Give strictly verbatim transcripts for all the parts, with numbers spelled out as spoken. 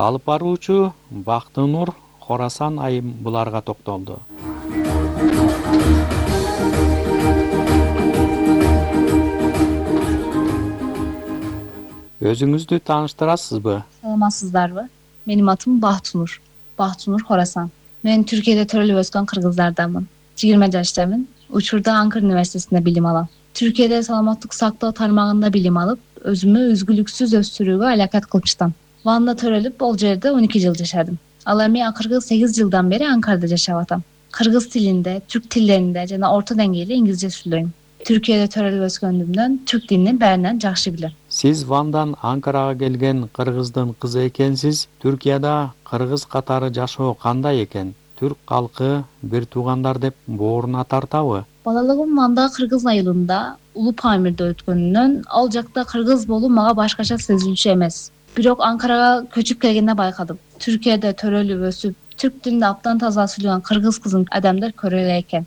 Алып баруучу Бактынур Хорасан айым буларга токтолду. Өзүңүздү тааныштырасызбы? Саламатсыздарбы? Менин атым Бактынур. Бактынур Хорасан. Мен Түркияда төрөлүп өскөн кыргыздарданмын. жыйырма жаштамын. Учурда Анкара университетинде билим алам. Түркияда саламаттык сактоо тармагында билим алып, өзүмө үзгүлүксүз өстүрүүгө алакат кылчтам. Ванда төрөлүп, бул жерде он эки жыл жашадым. Ал эми акыркы сегиз жылдан бери Анкарада жашап атам. Кыргыз тилинде, түрк тилдеринде жана орто деңгээлде инглизче сүйлөйм. Түркияда төрөлүп өскөндүмдөн түрк тилин баарынан жакшы билем. Сиз Вандан Анкарага келген кыргыздын кызы экенсиз. Түркияда кыргыз катары жашоо кандай экен? Түрк калкы бир туугандар деп бооруна тартабы? Балалыгым Ванда кыргыз айылында Улуу Памирде өткөнүнөн ал жакта кыргыз болуу мага башкача сезилчү эмес. Бирок Анкарага көчүп келгенде байкадым. Түркияда төрөлүп өсүп, түрк тилинде абдан таза сүйлөгөн кыргыз кызын адамдар көрө элек экен.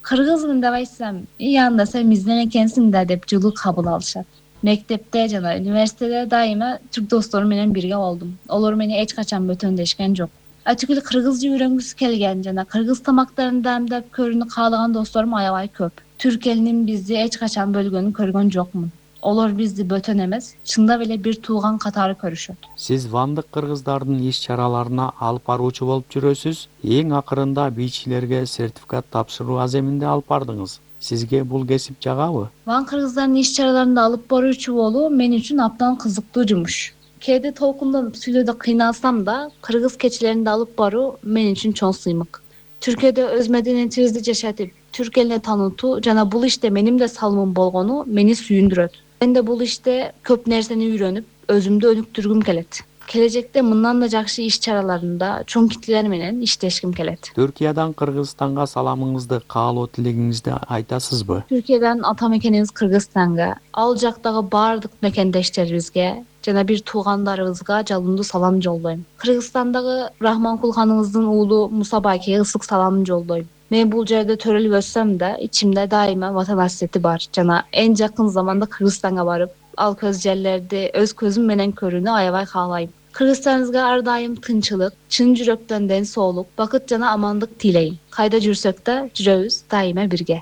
Кыргызмын деп айтсам, "И анда сен бизден экенсиң да" деп жылуу кабыл алышат. Мектепте жана университетте дайыма түрк досторум менен бирге болдум. Олор мени эч качан бөтөндөшкөн жок. Атүгүл кыргызча үйрөнгүсү келген жана кыргыз тамактарын даамдап көрүүнү каалаган досторум аябай көп. Түрк элинин бизди эч качан бөлгөнүн көргөн жокмун. Олор бизди бөтөн эмес, чындап эле бир тууган катары көрүшөт. Сиз вандык кыргыздардын иш-чараларына алып баруучу болуп жүрөсүз. Эң акырында бийчилерге сертификат тапшыруу аземинде алып бардыңыз. Сизге бул кесип жагабы? Ван кыргыздардын иш-чараларында алып баруучу болуу мен үчүн абдан кызыктуу жумуш. Кээде толкундонуп сүйлөөдө кыйналсам да, кыргыз кечилеринде алып баруу мен үчүн чоң сыймык. Түркияда өз мәдениетибизди жашатып, түрк элине таанытуу жана бул иште менин да салымым болгону мени сүйүндүрөт. Мен да бул иште көп нерсени үйрөнүп, өзүмдү өнүктүргүм келет. Келечекте мындан да жакшы иш-чараларында чоң кителер менен иштешким келет. Түркиядан Кыргызстанга саламыңызды, каалоо тилегиңизди айтасызбы? Түркиядан ата мекенибиз Кыргызстанга, ал жактагы баардык мекендештерибизге жана бир туугандарыбызга жалындуу салам жолдойм. Кыргызстандагы Рахманкул ханыбыздын уулу Муса байкеге ысык салам жолдойм. Мен бул жерде төрөлүп өссөм да, ичимде дайыма ватан hasreti бар жана эң жакын заманда Кыргызстанга барып, ал көз жерлерди өз көзүм менен көрүүнү аябай каалайм. Кыргызстаныбызга ар дайым тынчылык, чын жүрөктөн ден соолук, бакыт жана амандык тилейм. Кайда жүрсөк да жүрөбүз дайыма бирге.